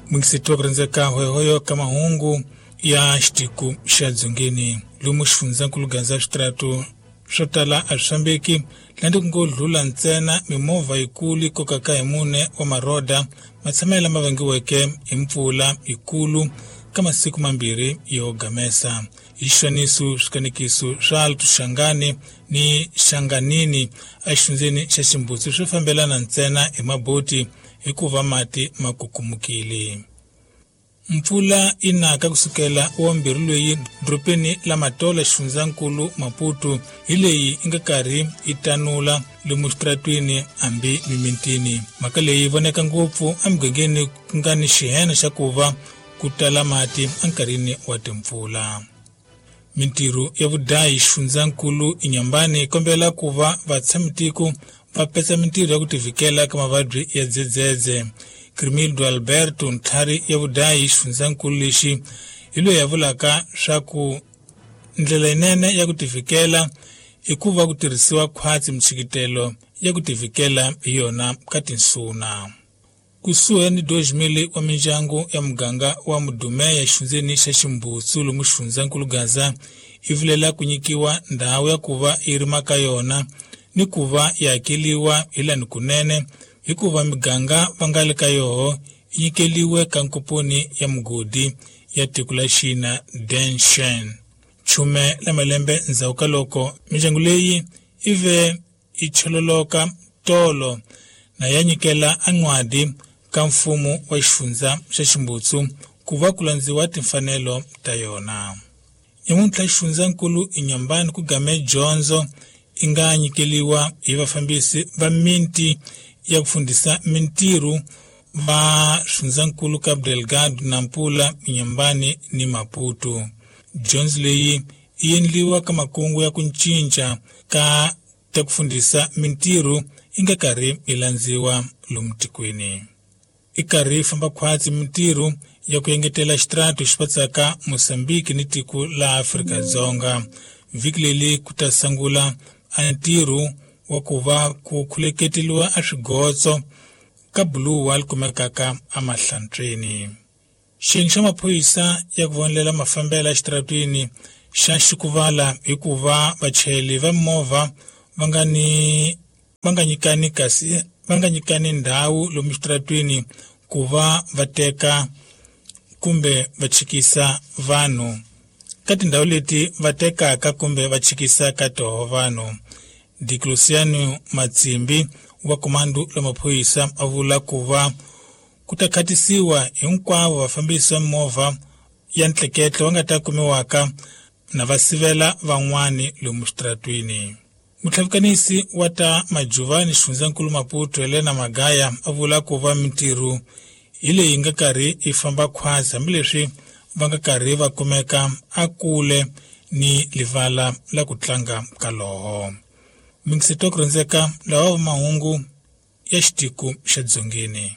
Mungiseti wa ku rhandzeka hoyohoyo ka mahungu ya xitiko xa dzongeni lomu xifundzankulu Gaza switrato swo tala a swi fambeki landzi ku ngo dlula ntsena mimovha yikulu yi kokaka hi mune wa maroda matshamelo lama vangiweke hi mpfula yikulu ka masiku mambirhi yo gamesa. Hi xifaniso swikanekiso swa Alto-Shangani ni Shanganini exifundzeni xa Ximbutsu swi fambelana ntsena hi maboti hikuva mati ma kukumukile. Mpfula yi naka kusukela wa mbirhi loyi dorobeni la Matola xifundzankulu Maputo hi leyi yi nga karhi yi tanula lomu xitaratwini hambi mimitini. Mhaka leyi yi voneka ngopfu emugangeni ku nga ni xihena xa ku va ku tala mati enkarhini wa timpfula. Mintirho ya vudayi xifundzankulu Inhambane yi kombela ku va vatshamitiko va petsa mintirho ya ku tivikela ka mavabyi ya dzedzedze. Crimildo Alberto ntlhari ya vudayi xifundzankulu lexi hi loyi a vulaka swa ku ndlela yinene ya ku tivikela i ku va ku tirhisiwa khwatsi mintshikitelo ya ku tivikela hi yona ka tinsuna. Kusuhi ni 2000 wa mindyangu ya muganga wa Mudumeya exifundzeni xa Ximbutsu lomu xifundzankulu Gaza yi vilela ku nyikiwa ndhawu ya ku va yi rima ka yona ni ku va yi hakeliwa hi lani kunene hikuva miganga va nga le ka yoho yi nyikeliwe ka nkomponi ya mugodi ya tiko la China Denshen. Chume la malembe ndzhaku ka loko mindyangu leyi yi ve yi chololoka tolo na ya nyikela an'wadi ka mfumo wa xifundza xa Ximbutsu ku va ku landziwa timfanelo ta yona. Nyamuntlha xifundzankulu Inhambane ku game dyondzo yi nga nyikeliwa hi vafambisi va miti ya ku fundisa mintirho va xifundzankulu Cabo Delgado, Nampula, Inhambane ni Maputo. Dyondzo leyi yi endliwa ka makungu ya ku cinca ka ta ku fundisa mintirho yi nga karhi yi landziwa lomu tikweni. I karhi yi famba khwatsi mintirho ya ku engetela xitrato xi patsaka Mozambique ni tiko la Afrika-Dzonga. Vhiki leri ku ta sungula a ntirho wa ku va ku khuleketeliwa a swigotso ka buluwa li kumekaka emahlantsweni. Xiyenge xa maphorisa ya ku vonelela mafambelo exitaratwini xa xikuvala hikuva vachayeri va mimovha va nga ni va nga nyikani kasi va nga nyikani ndhawu lomu xitaratwini ku va va teka kumbe va chikisa vanhu ka tindhawu leti va tekaka kumbe va chikisa ka toho vanhu. Dicluciano Matsimbi wa komando la maphorisa a vula ku va ku ta khatisiwa hinkwavo vafambisi va mimovha ya ntleketlo va nga ta kumiwaka na va sivela van'wani lomu xitaratwini. Mutlhavikanisi wa ta Majuvani xifundzankulu Maputo Helena Magaya a vula ku va mintirho hi leyi nga karhi yi famba khwatsi hambileswi va nga karhi va kumeka a kule ni livala la ku tlanga ka loho. Mingiseti wa ku rhandzeka lawa va mahungu ya xitiko xa dzongeni.